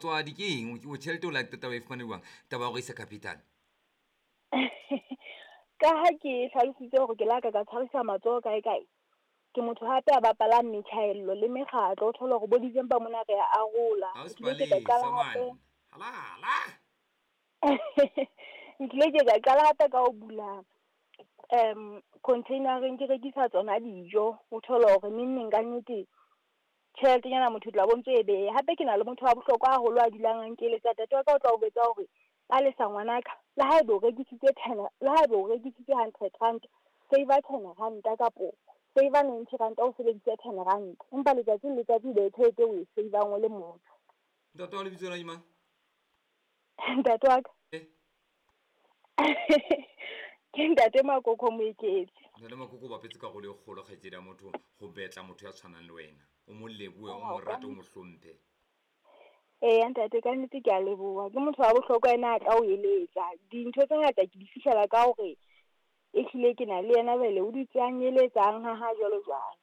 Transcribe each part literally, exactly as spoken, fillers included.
Tswadi ke eng o tjhelete o la qeta o e fumane jwang taba ya hore isa capital? Ka ha ke hlalositse hore ke la ka ka tshwarisa matsoho kae kae, ke motho hape a bapalang metjhaello le mekgatlo. O thole hore bo December mona re a arola. Nkile ke ka qala hape nkile ke ka qala hape ka ho bula um container-eng ke rekisa tsona dijo. O thole hore neng neng ka nnete tjheletenyana motho o tla bo ntso e beha. Hape ke na le motho wa bohlokwa haholo a dulang a nkeletsa. Ntate wa ka o tla o jwetsa hore Palesa ngwanaka, le haeba o rekisitse ten, le haeba o rekisitse hundred rand, save ten ranta kapo save ninety ranta o sebedise ten rand. Empa letsatsi le letsatsi o be tjhelete o e save-ang o le motho. Ntate wa lebitso la ke mang? Ntate wa ka. Eh. Ke ntate Makoko Moeketsi. Ntate Makoko o bapetse karolo e kgolo kgaitsedi ya motho ho betla motho ya tshwanang le wena. O mo lebohe, o mo rate, o mo hlomphe. Eya ntate, ka nnete ke a leboha. Ke motho wa bohlokwa ena a tla o eletsa. Dintho tse ngata ke di fihlela ka hore ehlile ke na le yena jwale o dutse a nyeletsang ha ha jwalo jwalo.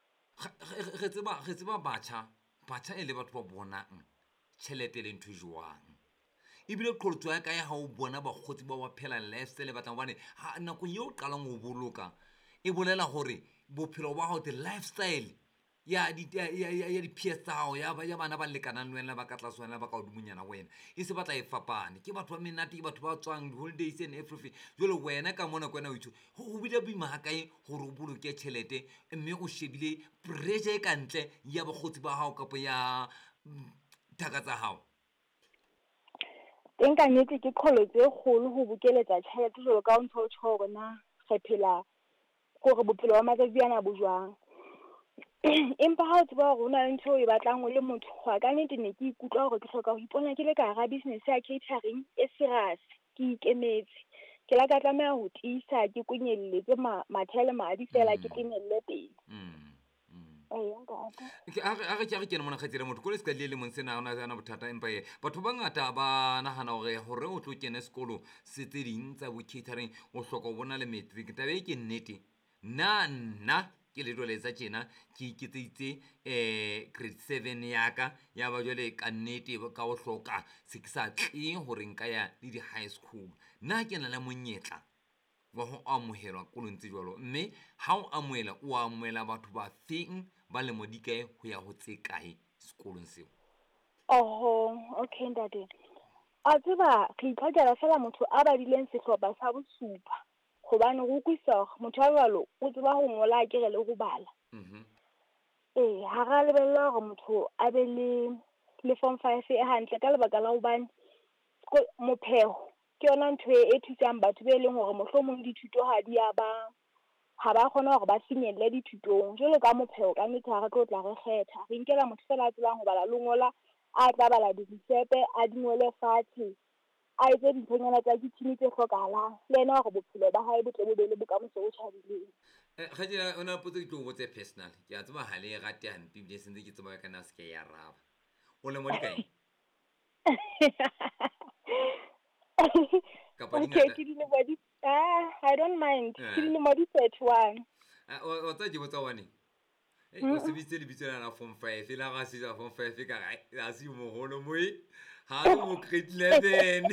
Re tseba re tseba batjha, batjha e le batho ba bonang tjhelete e le ntho e jwang. Ebile qholotso ya kae ha o bona bakgotsi ba ba phela lifestyle e batlang hobane ha nakong eo o qalang ho boloka e bolela hore bophelo ba hao, the lifestyle ya di ya ya ya di-peers tsa hao, ya ya bana ba lekanang le wena, ba ka tlase wena, ba ka hodimonyana ho wena, e se batla e fapane. Ke batho ba menate, ke batho ba tswang di-holidays and everything. Jwale wena ka mona ke wena o itho ho bile boima hakae hore o boloke tjhelete mme o shebile pressure e kantle ya bakgotsi ba hao kapa ya thaka tsa hao? Teng ka nnete ke qholotso e kgolo ho bokeletsa tjhelete jwalo ka ha o ntso tjho hore na re phela kore bophelo ba matsatsi ana bo jwang. Empa ha o tseba hore hona le ntho eo o e batlang o le motho, ho ka nnete ne ke ikutlwa hore ke hloka ho ipona ke le ka hara business ya catering e serious, ke ikemetse. Ke la ka tlameha ho tiisa ke konyelletse mathe le madi fela ke tenelle pele. Mm. Eya ntate. Ke a re a re ke a re kene mona kgaitsedi ya motho kolo se ka le lemong sena ha ona bothata, empa e batho ba bangata ba nahana hore hore o tlo kene sekolo se tse ding tsa bo catering o hloka ho bona le matric. Taba e ke nnete. Nna nna ke le jwale tjena ke iketseditse eh grade seven ya ka ya ba jwale ka nnete ka ho hloka se ke sa tle hore nka ya le di-high school. Nna ke na le monyetla wa ho amohelwa kolong tse jwalo, mme ha o amohela o amohela batho ba feng ba lemo di kae ho ya ho tse kae sekolong seo? Oho, okay ntate. A tseba re itlhokela fela motho a badileng sehlopha sa bosupa hobane re utlwisisa hore motho a jwalo o tseba ho ngola akere le ho bala. Mhm. Ee, ha ra lebella hore motho a be le le form five e hantle ka lebaka la hobane mopheho ke yona ntho e thusang batho be leng hore mohlomong dithuto ha di a ba ha ba kgona hore ba finyelle dithutong. Jwalo ka mopheho ka nnete ha re tlo tla re kgetha, re nkela motho fela a tsebang ho bala le ho ngola, a tla bala dirisepe, a di ngole fatshe, a etse dinthonyana tsa kitchen tse hlokahalang le yena hore bophelo ba hae bo tle bo be le bokamoso bo tjhabileng. Eh kgaitsedi, o na potso ke tlo o botsa e personal. Ke a tseba ha le e rate hampe ebile se ntse ke tseba ka nna se ke e araba. O lemo di kae? Kapa di Okay, ngata? ke dilemo di ah, I don't mind. Ke Eh. dilemo di thirty-one. Ah, o tseba ke botsa hobane? Eh, o sebedisitse lebitso lena la form five, la ga se form five ka re ha se moholo moe. Ha se mo grade eleven.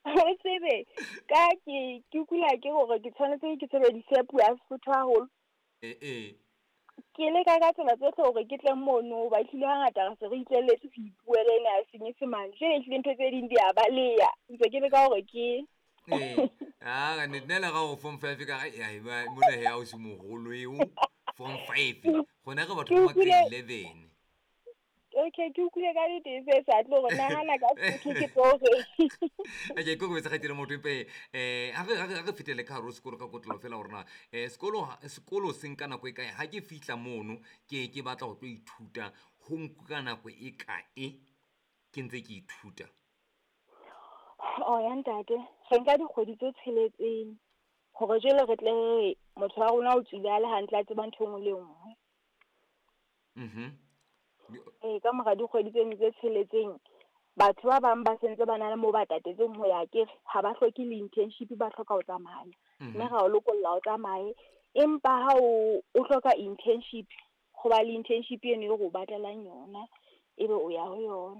O tsebe ka ke ke kula ke hore ke tshwanetse ke sebedise puo ya Sesotho haholo. Eh eh. Ke leka ka tsela tsohle hore ke tle mono hoba ehlile hangata re se re itlelletse ho ipuela ena ya Senyesemane. Jwale ehlile ntho tse ding di a baleha. Ntse ke leka hore ke Eh, ah ka nnete nna le ga o form five ka re ya mona he ha o se moholo eo form five. Gona re batho ba grade eleven. Okay, ke utlwile ka nnete se sa tlo hore nahana ka Sesotho ke tlo re. Okay, ke go betsa kgaitsedi motho empa eh ha re ha re fetele ka hare ho sekolo ka kotlolo fela hore na eh sekolo sekolo se nka nako e kae ha ke fihla mono ke ke batla ho tlo ithuta ho nka nako e kae ke ntse ke ithuta? Oh ya ntate, re nka dikgwedi tse tsheletseng hore jwale re tle re motho wa rona o tswile a le hantle a tseba ntho e nngwe le e nngwe. Mhm. Ee, ka mora dikgwedi tseno tse tsheletseng batho ba bang ba sentse ba na le moo ba tatetseng ho ya akere ha ba hloke le internship ba hloka ho tsamaya. Mme ra o lokolla o tsamaye. Empa ha o o hloka internship, ho ba le internship eno eo re o batlelang yona. ebe o ya ho yona.